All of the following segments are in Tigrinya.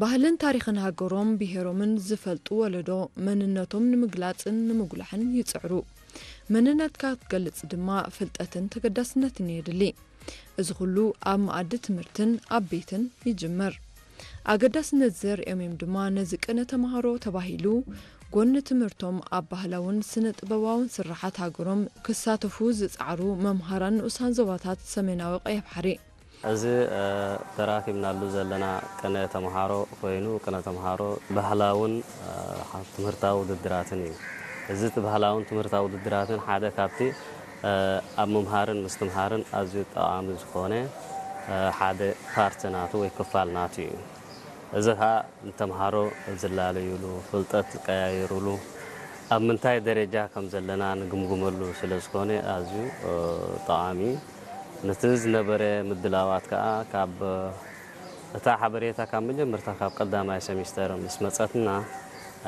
ባህልን ታሪኽን ሃገሮም ብሄሮምን ዝፈልጡ ወለዶ መንነቶም ንምግላጽን ንምጉላሕን ይጽዕሩ። መንነትካ ክትገልጽ ድማ ፍልጠትን ተገዳስነትን የድሊ። እዚ ኩሉ ኣብ መኣዲ ትምህርትን ኣብ ቤትን ይጅመር። ኣገዳስነት ዘርእዮም እዮም ድማ ነዚ ቅነ ተምሃሮ ተባሂሉ ጎኒ ትምህርቶም ኣብ ባህላውን ስነ ጥበባውን ስርሓት ሃገሮም ክሳተፉ ዝጸዓሩ መምሃራን ንኡሳን ዞባታት ሰሜናዊ ቀይሕ ባሕሪ። እዚ ተራኪብናሉ ዘለና ቅነ ተምሃሮ ኮይኑ ቅነ ተምሃሮ ባህላውን ትምህርታዊ ውድድራትን እዩ። እዚ ባህላውን ትምህርታዊ ውድድራትን ሓደ ካብቲ ኣብ ምምሃርን ምስትምሃርን ኣዝዩ ጠቓሚ ዝኾነ ሓደ ፓርት ናቱ ወይ ክፋል ናቱ እዩ። እዚ ኸኣ ንተምሃሮ ዝላለዩሉ፣ ፍልጠት ዝቀያየሩሉ፣ ኣብ ምንታይ ደረጃ ከም ዘለና ንግምግመሉ ስለ ዝኾነ ኣዝዩ ጠቓሚ እዩ። ነቲ ዝነበረ ምድላዋት ከኣ ካብ እታ ሓበሬታ ካብ መጀመርታ ካብ ቀዳማይ ሰሚስተር ምስ መጸትና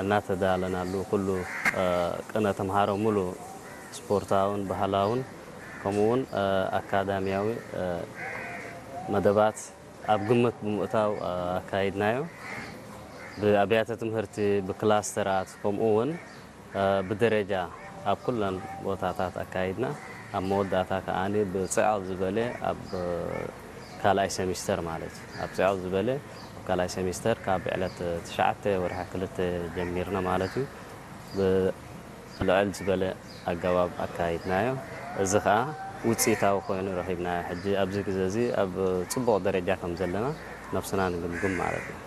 እናተዳለናሉ ኩሉ ቅነ ተምሃሮ ሙሉ ስፖርታውን ባህላውን ከምኡ እውን ኣካዳሚያዊ መደባት ኣብ ግምት ብምእታው ኣካይድናዮ። ብኣብያተ ትምህርቲ፣ ብክላስተራት ከምኡ እውን ብደረጃ ኣብ ኩለን ቦታታት ኣካይድና። ኣብ መወዳእታ ከኣ ብጽዕቕ ዝበለ ኣብ ካልኣይ ሰሚስተር ማለት እዩ። ኣብ ጽዕቕ ዝበለ ኣብ ካልኣይ ሰሚስተር ካብ ዕለት ትሽዓተ ወርሒ ክልተ ጀሚርና ማለት እዩ። ብልዕል ዝበለ ኣገባብ ኣካይድናዮ። እዚ ኸኣ ውጽኢታዊ ኮይኑ ረኺብናዮ። ሕጂ ኣብዚ ግዜ እዚ ኣብ ጽቡቕ ደረጃ ከም ዘለና ነብስና ንግምግም ማለት እዩ።